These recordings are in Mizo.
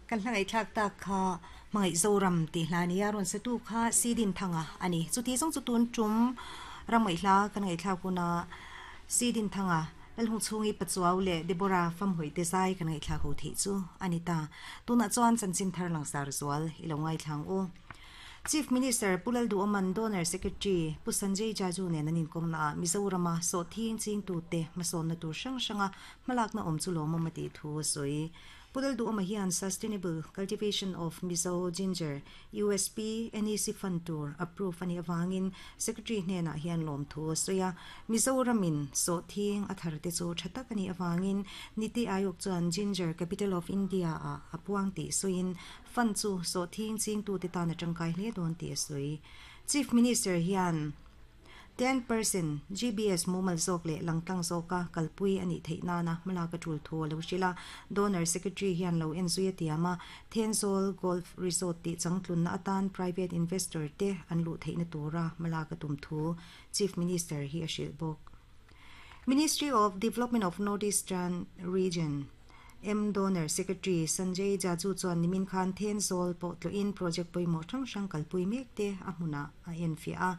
Kan hla ngaihthlak tak kha Hmangaih Zoram tih hla a ni a, rawn satu kha Sidin Thanga a ni. Chuti zawng chu tun tum ram ngaihhla kan ngaihthlak huna Sidin Thanga, Lalhung chhungi Pachuau leh Deborah Famhawi te zai kan ngaihthlak ho theih chu a ni ta. Tunah chuan chanchin thar langsar zual i lo ngaithlang u. Chief Minister Pu Lalduhawman Donor Secretary Pu Sanjay Jaju nen an inkawmna ah Mizorama sawhthing chingtute hmasawnna tur hrang hranga hmalakna awm chu lawmawm a tih thu a sawi. Pu Lalduhawma hian Sustainable Cultivation of Mizo Ginger, USP, NEC Fund tur approve a nih avangin Secretary hnenah hian lawmthu a sawi a. Mizoramin sawhthing a thar te chu tha tak a nih avangin Niti Aayog chuan Ginger Capital of India ah a puang tih sawiin Fund chu sawhthing chingtute tan a tangkai hle dawn tih a sawi. Chief Minister hian 10% GBS mumal zawk leh langtlang zawka kalpui a nih theih nana hmalak a tul thu a lo hrilh a. Donor Secretary hian lo en zui a tiam a, Thenzawl Golf Resort tih changtlunna atan private investor te an luh theihna tura hmalak a tum thu Chief Minister hi a hrilh bawk. Ministry of Development of North Eastern Region, M Donor Secretary Sanjay Jaju chuan nimin khan Thenzawl pawh tlawhin project pawimawh hrang hrang kalpui mek te a hmunah a enfiah a.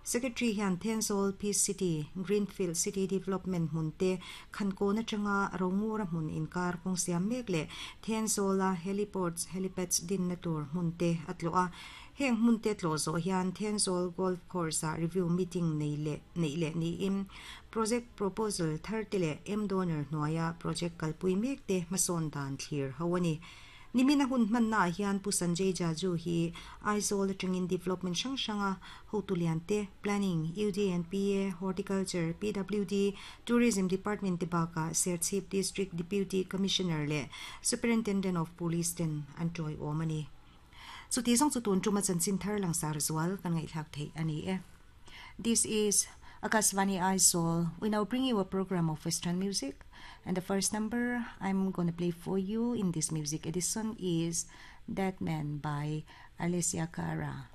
Secretary hian Thenzawl Peace City, Greenfield City Development hmun te, Khankawn atanga Rongura hmun inkar kawng siam mek leh Thenzawla Heliports, Helipads dinna tur hmun te a tlawh a. Heng hmun te tlawh zawh hian Thenzawl Golf Course-ah review meeting nei leh neih leh niin Project proposal thar te leh M-Donor hnuaia project kalpui mek te hmasawn dan thlir ho a ni. Nimina hun hmannaah hian Pu Sanjay Jaju hi Aizawl atangin development hrang hranga hotu lian te, Planning, UDNPA, Horticulture, PWD, Tourism Department te bakah Serchhip District Deputy Commissioner leh Superintendent of Police ten an tawiawm a ni. Chuti zawng chu tun tuma chanchin thar langsar zual kan ngaihthlak theih a ni e. This is Akashvani Aizawl. We now bring you a program of Western music. And the first number I'm gonna play for you in this music edition is Dead Man by Alessia Cara.